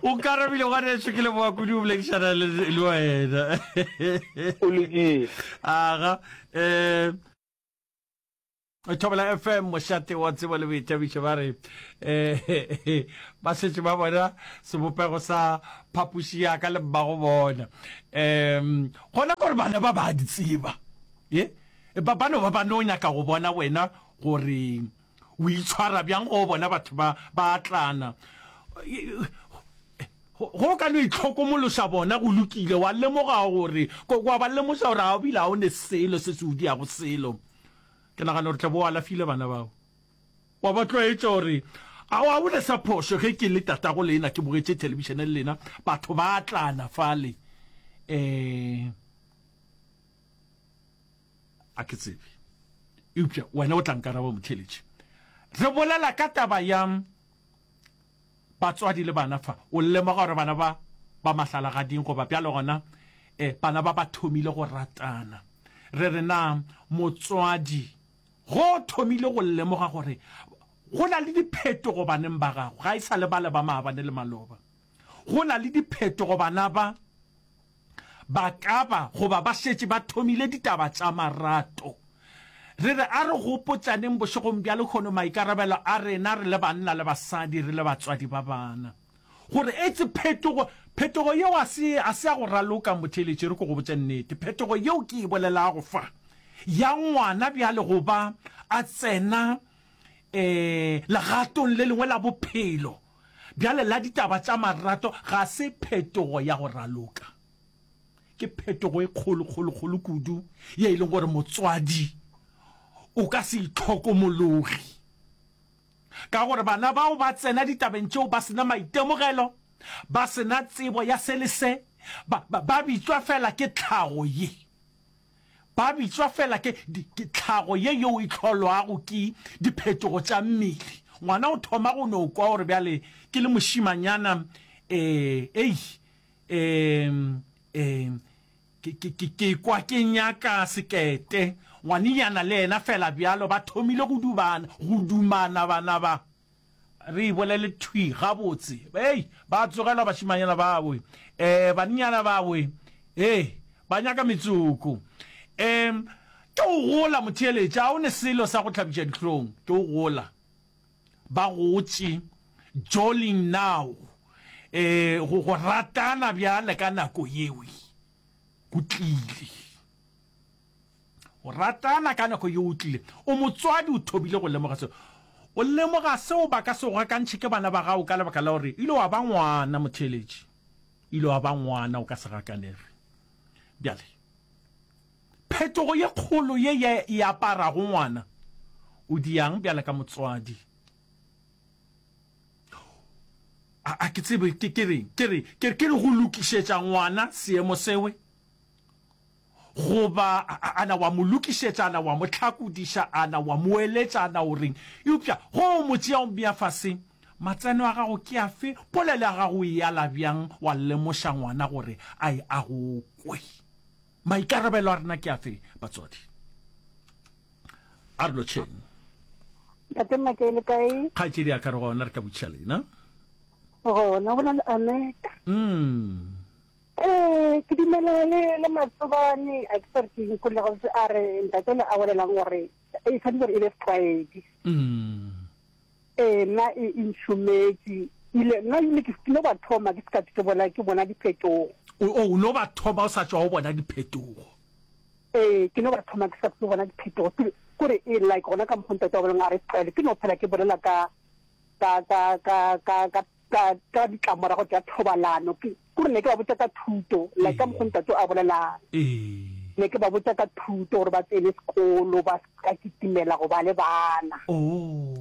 O nkarabile ngwanešu, ke leboga kudu go boledišana le le wena. O lokile. Aga, eh Thobela FM mošate wa tsebo le boithabišo ba re eh ba šetše ba bona sebopego sa phapoši ya ka le mmago bona. Um gona gore bana ba ba di tseba. Ye ba ba no ba ba no nyaka go bona wena gore o itshwara bjang go bona batho ba ba atlana. Go ka no itlhokomološa bona go lokile wa lemoga gore wa ba lemoša gore ga o bile ga o ne selo se se o diago selo. Ke nagana gore tla bo o alafile bana bao. Wa ba tlwaetša gore a wa bone sa phošo ge ke le tatago lena ke bogetše thelebišene le lena batho ba atlana fale. Um a ke tsebe. Eupša wena o tla nkaraba motheeletši. Re bolela ka taba ya Batswadi le bana fa, o lemoga gore bana ba ba mahlalagading goba bjalo gona eh, bana ba ba thomile go ratana. Re re na motswadi go thomile go lemoga gore go na le diphetogo baneng ba gago, ga e sa le bale ba maabane le maloba. Go na le diphetogo bana ba ba ka ba goba ba šetše ba thomile ditaba tša marato. Re re a re gopotšaneng bošegong bja lehono maikarabelo a rena re le banna le basadi, re le batswadi ba bana, gore etse phetogo, phetogo yeo a se, a se ya go raloka, motheeletši, re ko go botše nnete, phetogo yeo ke e bolelago fa, ya ngwana bjale go ba a tsena um legatong le lengwe la bophelo, Bjale la ditaba tša marato ga se phetogo ya go raloka. Ke phetogo e kgolo, kgolo, kgolo kudu ye e leng gore motswadi o ka se itlhokomologe. Ka gore bana bao ba tsena ditabeng tšeo ba se na maitemogelo, ba se na tsebo ya se le se, ba, ba, ba bitšwa fela ke tlhago ye. Ba bitšwa feela ke, ke tlhago ye yeo e hlolwago ke diphetogo tša mmele. Ngwana o thoma go no kwa gore bjale ke le mošimanyana, ee, ei, ee, ee, ke, ke, ke, ke kwa ke nyaka sekete. Ngwanenyana le yena feela bjalo, ba thomile go dubana, go dumana bana ba. Re e bolele thwi gabotse. Hei, ba tsogelwa bašimanyana ba we. Eh, bannyana ba we. Hei, ba nyaka metsoko. Um, ke go gola, motheeletši. Ga o ne selo sa go hlabiša dihlong. Ke go gola. Ba gotše. Jolling now. Eh, go, go ratana bjale ka nako yewe. Go tlile. Go ratana ka nako yeo o tlile. O motswadi, o thobile go lemoga seo. O lemoga seo ba ka se go gakantšhe ke bana ba gago ka lebaka la gore ile wa ba ngwana, motheeletši. Ile wa ba ngwana, o ka se gakanege. Bjale, phetogo ye kgolo ye ye e aparago ngwana, o diang bjale ka motswadi? A, a ke tsebe ke, ke reng, ke re, ke, ke re go lokišetša ngwana seemo sewe? Goba a na wa mo lokišetša, a na wa mo hlakodiša, a na wa mo eletša, a na o reng? Eupša ge o mo tšea o mmea fase, matseno a gago ke afe? Polelo ya gago o e ala bjang wa lemoša ngwana gore a e a go kwe? Maikarabelo a rena ke afe, batswadi? A re lotšheng. Ntate Maka le kae? Kgaetšedi ya ka re gona re ka botšiša lena. Gona go na le Aneta. Mm. Ee, ke dumela le le Matsobane, a ke sa re ke eng, kole gabotse a re ntate le a bolelang gore e tshwanetse gore e be setlwaedi. Mm. Ee, nna e e nšometše. Ile nna ile ke no ba thoma ke se ka ke bona ke bona diphetogo. O o no ba thoma o sa tšwa o bona diphetogo. Ee, ke no ba thoma ke sa ke bona diphetogo. Ke kore e like gona ka mokgo ntate wa boleng a re tlwaele ke no phela ke bolela ka ka ka ka ka ka ka ka ditlamorago tša thobalano. Ke kore ne ke ba botša ka thuto like ka mokgo ntate a bolelang. Ee. Ne ke ba botša ka thuto gore ba tsene sekolo ba se ka kitimela go ba le bana. Oh.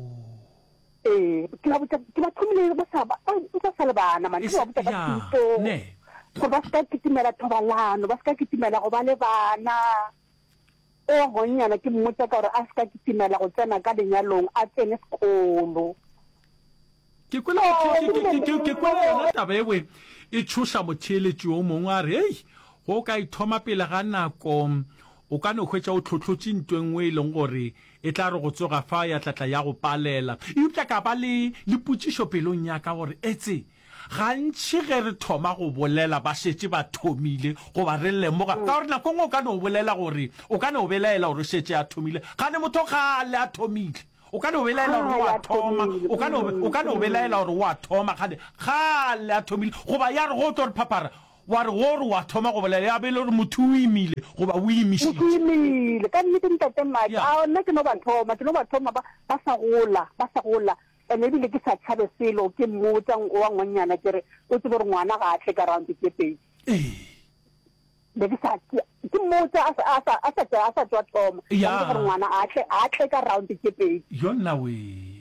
Ee, ke ba botša, ke ba thomile ba sa ba, ba sa le bana man, ke ba botša ka thuto, gore ba se ka kitimela thobalano, ba se ka kitimela go ba le bana. O gonnyana ke mmotša ka gore a se ka kitimela go tsena ka lenyalong, a tsene sekolo. Ke kwele, ke, ke, ke, ke kwele yona taba ewe e tšhoša motheeletši o mongwe a re, Hei, go ka ithoma pele ga nako, o ka no hwetša o tlhohlotše nto e nngwe e leng gore E tla re go tsoga fa ya tla tla ya go palela. Eupša ka ba le, le potšišo pelong ya ka gore, Etse, gantši ge re thoma go bolela ba šetše ba thomile, goba re lemoga, ka gore nako e nngwe o ka no bolela gore, o ka no belaela gore o šetše a thomile, kgane motho kgale a thomile. O ka no belaela gore o a thoma, o ka no, o ka no belaela gore o a thoma, kgane kgale a thomile. Goba ya re ge o tlo re phaphara, Wa re wo re wa thoma go bolela ya be e le gore motho o imile goba o imišitše. Motho o imile. Ka nnete Ntate Mike, Ya. a nna ke no ba thoma, ke no ba thoma ba, ba sa gola, ba sa gola. And ebile ke sa tšhabe selo, ke mmotša wa ngwannyana ke re, o tsebe gore ngwana ga a tle ka round tše pedi. Ee. Be ke sa, ke, ke mmotša a sa, a sa, a sa tšwa, a sa tšwa thoma. Ka Ya. mmotša gore ngwana a tle, a tle ka round tše pedi. Yonna wee.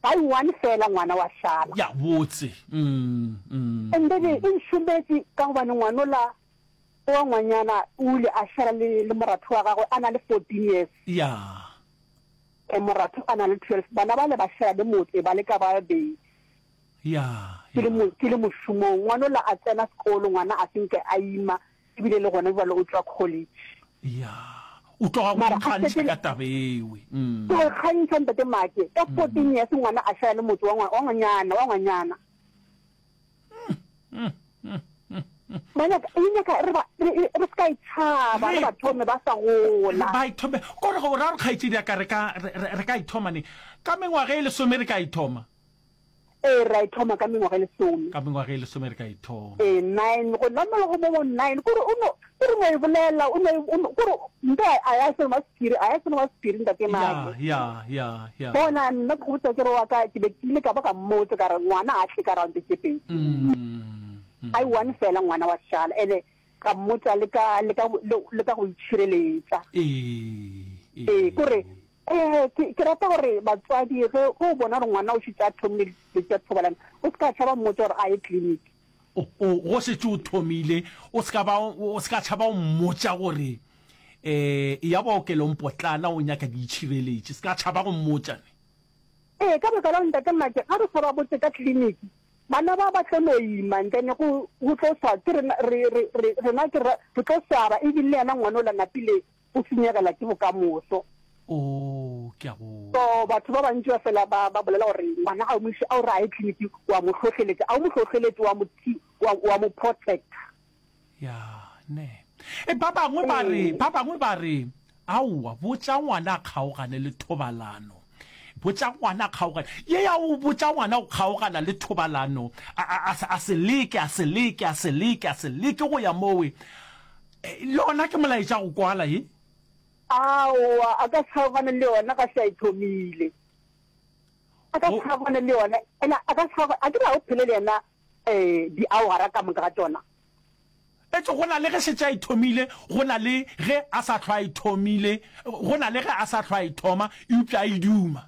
Ba i one fela ngwana wa šala. Ya botse. Mm, mm. And then e nšometše ka gobane ngwanola wa ngwanyana o ile a šala le, le moratho wa gagwe a na le 14 years. Ya. E moratho a na le 12. Bana bale ba šala le motse ba le ka ba babedi. Ya, Ke le ya. mo, ke le mošomong. Ngwanola a tsena sekolo, ngwana a se nke a ima, ebile le gona bjale o tšwa college. Ya, o tloga o Mara a ikgantšha šetše ka taba ewe. Mm. Ke go ikgantšha Ntate Make, ka 14 years ngwana a šala le motse wa ngwa, wa ngwanyana, wa ngwanyana. Ba nyaka, e nyaka re ba, re, re se ka e tšhaba, re ba thome ba sa gola. Ba ithome, kore go ra gore kgaetšedi ya ka re ka, re, re, re ka ithoma neng? Ka mengwaga e lesome re ka ithoma. Ee, ra e thoma ka mengwaga e lesome. Ka mengwaga e lesome re ka e thoma. Ee, nine, go namela go mo bo nine, kore o no, kore o no e bolela, o no, o no, kore nto a ya selo ma sephiri, a ya selo ma sephiri ntate Make. Ya, ya, ya, ya. Bona, nna ke go botsa ke re wa ka, ke be ke ile ka ba ka mmotsa ka re ngwana a tle ka round tše pedi. Mm. A i one fela ngwana wa šala, ene ka mmotsa le ka, le ka, le, le ka go itšhireletša. Ee, Ee, ee. kore Ee, ke, ke rata gore batswadi ge, ge o bona gore ngwana o šetše a thomile dilo tša thobalano, o se ka tšhaba mmotša gore a ye kliniki. O, o, go šetše o thomile, o se ka ba, o se ka tšhaba o mmotša gore, eh, eya bookelong potlana o nyaka diitšhireletši. Se ka tšhaba go mmotša ne. Ee, ka baka la gore Ntate Make, ga re sa ba botše ka kliniki, bana ba ba tlo no ima and then go, go tlo swa, ke rena, re, re, re, rena ke re, re tlo swaba, ebile le yena ngwana ola napile o senyegela ke bokamoso. Oh, ke a go. So batho ba bantši ba fela ba ba bolela gore ngwana ga o mo iše, a o re a ye clinic, wa mo hlohleletša, a o mo hlohleletše, wa mo thi, wa, wa mo protector. Ya, ne. E, ba bangwe ba re, ba bangwe ba re, aowa, botša ngwana a kgaogane le thobalano. Botša ngwana a kgaogane. Ye ya o botša ngwana go kgaogana le thobalano, a, a, a, a se leke, a se leke, a se leke, a se leke go ya mowe. Le gona ke molaetša go kwala ye? Aowa, a ka se kgaogane le yona ga se a e thomile. A ka se kgaogane le yona. Ena a ka se kgaogane, a ke re ga o phele le yena um diawara ka moka ga tšona. Etšwe go na le ge šetše a e thomile, go na le ge a sa hlwa a e thomile, go na le ge a sa hlwa a e thoma, eupša a e duma.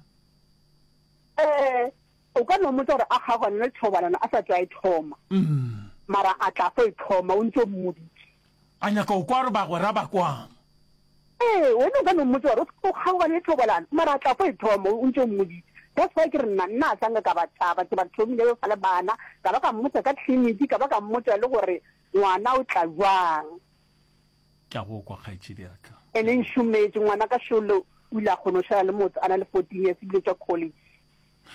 Ee, O ka no mmotša gore a kgaogane le thobalano a sa tšwa e thoma, mara a tla fo e thoma o ntše o mmoditše. A nyaka go kwa gore bagwera ba kwang. Ee, wena o ka no mmotša gore o kgaogane le thobalano, mara a tla fo e thoma o ntše o mmoditše. That's why ke re nna, nna a sa nka ka ba tšhaba, ke ba thomile ba sa le bana, ka ba ka mmotša ka tleliniki, ka ba ka mmotša le gore ngwana o tla bjang. Ke a go kwa, kgaetšedi ya ka. Ene nšometše, ngwanaka šole o ile a kgona go šala le motse a na le 14 years ebile o tšwa college.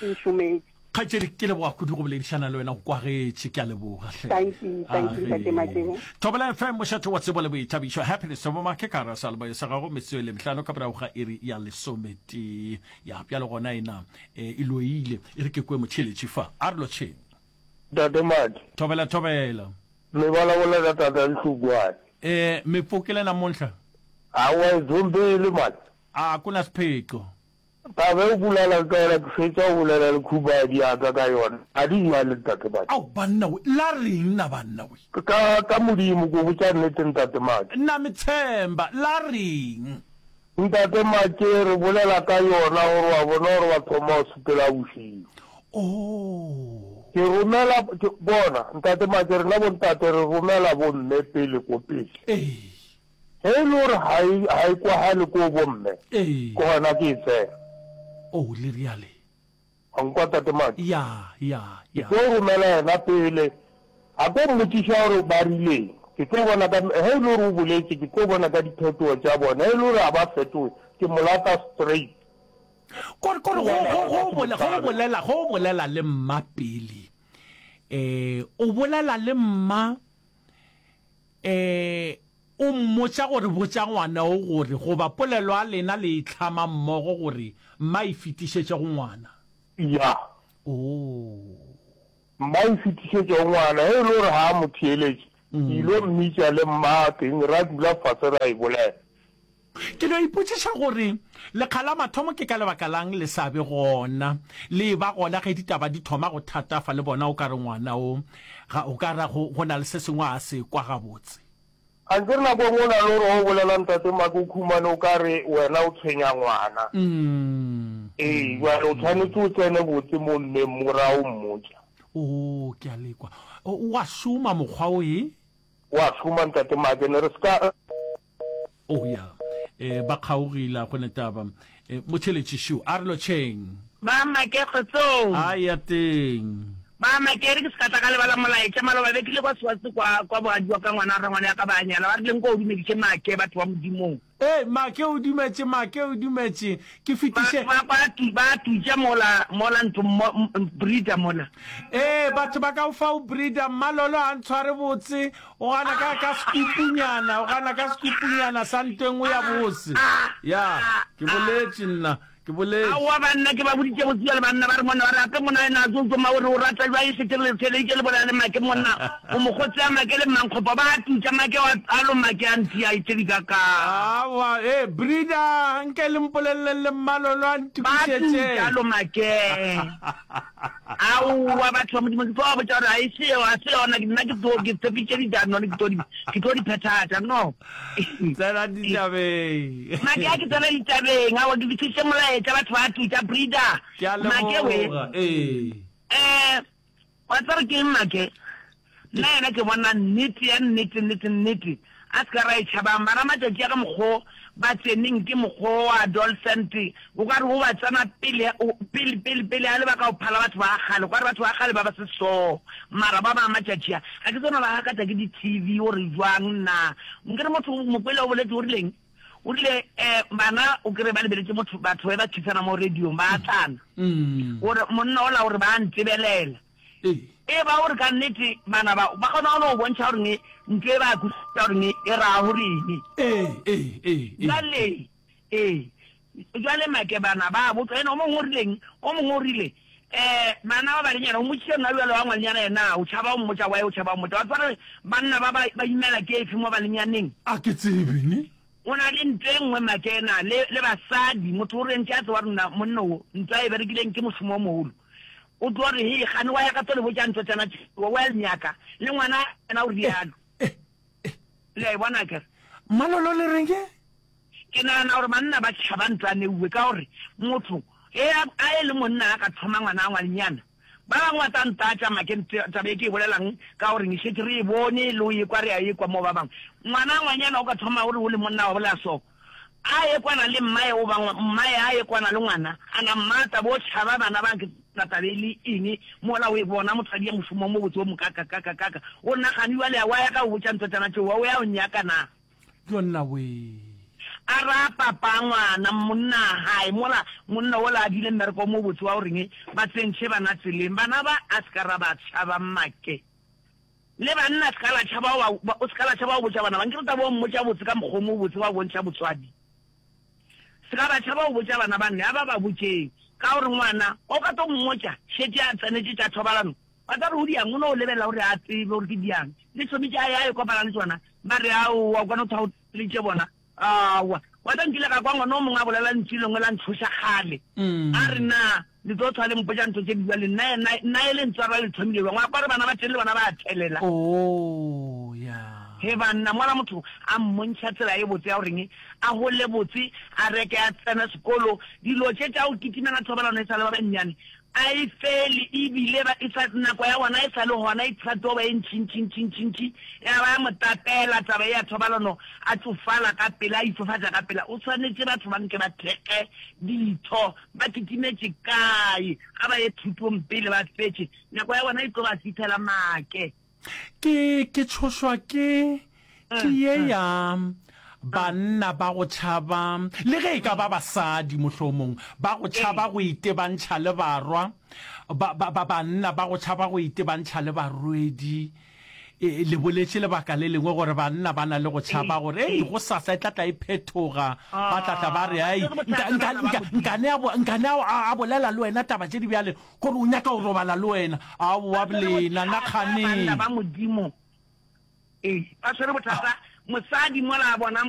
Nšometše. Kgaetšedi, ke leboga kudu go boledišana le wena, go kwagetše. Ke a leboga hle. Thank you, thank you, Ntate Matšebo. Thobela FM, mošate wa tsebo le boithabišo. Happiness Thobo Make ka gare ga seyalemoya sa gago, metsotso e le mehlano ka morago ga iri ya lesometee. Ya, bjalo gona ena e loile. E re ke kwe motheeletši fa. A re lotšheng. Ntate Madi. Thobela thobela. Me bolabola ka tata Nhlukwane. Eh me pfukile namuntlha? Aowa e dzombile man. A ku na swiphiqo. Taba e o bolelang ka yona ke fetša go bolela le khubadi ya ka ka yona. Ga di bjale ntate Madi. Ao banna we, la reng na banna we? Ka ka Modimo ke o botša nnete ntate Madi. Na me tshemba, la reng? Ntate Make re bolela ka yona gore wa bona gore ba thoma go sepela bošego. Oh. Ke romela, ke, bona, Ntate Make, rena bontate re romela bomme pele ko pele. Ee. Ge e le gore ga e, ga e kwagale ko bomme, Ee. ke gona ke e tsena. Oh, le riale. Wa nkwa, Tate Make? Ya, ya, Ke ya. tlo romela yena pele. A tlo mmotšiša gore ba rileng. Ke tlo bona ka, ge e le gore o boletše, ke tlo bona ka diphetogo tša bona. Ge e le gore ga ba fetoge, ke mo lata straight. Kore, kore go, go, go, go, go bolela, go bolela le mma pele. Eh, o bolela le mma, eh, o mmotša gore botša ngwana o gore, goba polelo ya lena le e hlama mmogo gore mma e fetišetše go ngwana. Ya. Oh. Mma e fetišetše go ngwana, ge e le gore ga a mo theeletše, ke ilo mmitša le mma teng ra dula fase ra e bolela. Ke no ipotšiša gore lekga la mathomo ke ka lebaka la'ng le sa be gona, le eba gona ge ditaba di thoma go thatafa le bona o ka re ngwana o ga o ka ra go, go na le se sengwe a se kwa gabotse. Ankere nako e nngwe o na le gore ge o bolela Ntate Maki o khumane o ka re wena o tshwenya ngwana. Ee, bjale o tshwanetse o tsene botse mo mmeng mo ra o mmotša. Oo, ke a le kwa. O a šoma mokgwa o e? O a šoma Ntate Maki, ne re se ka. Oh ya. Eh, ba kgaogile, a go ne taba. Eh, motšheletši šo, a re lotšheng. Ba make kgotsong. A ya teng. Ba make re ke se ka tla ka lebala molaetša maloba be ke le kwa Swazi kwa kwa bogadi wa ka ngwana rangwane ya ka ba nyala ba rile nko o dumeditše make batho ba Modimong. Ee, make o dumetše, make o dumetše. Ke fetiše. Ba ba ba tutša mola mola ntho mo breeder mola. Ee, batho ba ka o fa o breeder, Mmalolo ha ntshware botse, O gana ka, ka sekupunyana, o gana ka sekupunyana sa nto e nngwe ya bose. Ya, ke boletše nna, ke boletše. Aowa banna, ke ba boditše botse bjale banna ba re monna, ba re gape monna yena a tso tsoma o re o rata jwang e šetše re le theleditše le bolela le make monna, o mo kgotse a make le mmankgopo ba a tutša make wa a lo make a ntia e tše di ka ka. Aowa, ee, breeder, nke le mpoleleleng le mmalolo a Ba ntokišetše. tutša lo make. Aowa batho ba Modimo, ke tlo ba botša gore ga e se yeo, ga se yona, nna ke tlo, ke tshepitše ditano, ke tlo di, ke tlo di phethagatša, no. Tsena ditabeng. Make a ke tsena ditabeng, aowa ke fihliše molaetša, batho ba tutša, breeder. Ke a Make we. leboga, ee. Eh, wa tseba ke eng make? Nna yena ke bona nnete ya nnete nnete nnete a se ka ra e tšhabang bana matšatši a ka mokgo ba tseneng ke mokgo wa adolescent o ka re o ba tsena pele pele pele pele a le ba ka o phala batho ba kgale o ka re batho ba kgale ba ba se so mara ba ba matšatši a ga ke tsona ba gakatša ke di TV o re jwang na nkere motho mokwele o boletse o rileng o rile um bana o kry ba lebeletše motho batho ba ba khisana mo radiong ba atlana gore monna ola gore ba ntebelela E ba gore ka nnete bana ba ba kgona go no bontšha gore ne ntho e ba kwešiša gore ne e raya gore eng. Jwale ee, jwale make bana ba botswa ene o mongwe o rileng, o mongwe o rile um bana ba banenyana o mmotšiše nna bjalo wa ngwanenyana yena o tšhaba o mmotša why o tšhaba o mmotša wa tseba gore banna ba ba imela ke efe mo banenyaneng. A ke tsebe ne. O na le ntwa e nngwe Makena, le, le basadi. Motho o re ntše a tseba gore nna monna wo, ntwa e berekileng ke mošomo o mogolo. O tlo re, Hei, kgane wa ya ka tlo le botša ntwa tšana tšeo, well nyaka. Le ngwana yena o rialo. Le a e bona akere? Mmalolo le reng ke? Ke nagana gore banna ba tšhaba ntwa neuwe ka gore motho ge a, a e le monna a ka thoma ngwana a ngwanenyana, Ba bangwe ba tla ntatša make taba e ke e bolelang ka gore ne šetše re e bone le o ekwa re a ekwa mo ba bangwe. Ngwana ngwanyana o ka thoma o re o le monna wa bolela so, a ye kwana le mmae o ba mmae a ye kwana le ngwana a na mmata bo tšhaba bana ba ke na taba e le eng mola o e bona motho a dia mošomo o mobotse o mokakakakakaka o nagane jwale wa ya ka o botša ntotšana tšeo wa o ya o nyaka na. Jonna wee. A ra papa ngwana monna hae mola monna wola a dile mmereko o mobotse wa goreng ba tsentšhe bana tseleng. Bana ba a se ka ra ba tšhaba make. Le banna se ka la tšhaba o ba o se ka la tšhaba go botša bana ba. Nkere taba o mmotša botse ka mokgwa o mobotse wa bontšha botswadi. Se ka ba tšhaba go botša bana ba nne a ba ba botšeng ka gore ngwana o ka tlo mmotša šetše a tsenetše tša thobalano. Ba tla re go diang, o no lebelela gore a tsebe gore ke diang. Le tšhomi tša ya e kopana le tšona, ba re aowa, o ka no thaoleditše bona. Aowa. Wa tseba nkile ka kwa ngwana o mongwe a bolela lentšu lengwe la ntšhoša kgale. A re na le tlo hlwa le mpotša ntho tše di bjale, nna nna nna e le ntswara le thomile bjang? Wa kwa re bana ba teng le bona ba a thelela. Oh, ya. He banna, mola motho a mmontšha tsela e botse ya goreng a gole botse, a reke a tsene sekolo, dilo tše tša go kitimela thobalano e sa le ba bannyane, A e fele, e bile ba, e sa, nako ya bona e sa le gona, e sa tlo ba e ntšintšintšintšintši, ya ba ya mo tapela taba ye ya thobalano, a tšofala ka pela, a itšofatša ka pela. O swanetše batho ba nke ba thekge ditho, ba kitimetše kae? A ba ye thutong pele ba fetše, nako ya bona e tlo ba fihlela make. Ke, ke tšhošwa ke, ke ye ya banna ba go tšhaba, le ge e ka ba basadi mohlomong, ba go tšhaba go itebantšha le barwa, ba, ba, ba banna ba go tšhaba go itebantšha le barwedi. E, le boletše lebaka le lengwe gore banna ba na le go tšhaba gore, ei, gosasa e tla tla e phethoga, ba tla tla ba re, ai, nka, nka, nka, nkane a, nkane a, a bolela le wena taba tše di bjale, Gore o nyaka go robala le wena. Aowa Ba swere lena, bothata nakganeng. banna ba Modimo. Ee, ba swere bothata. Mosadi mola a bona.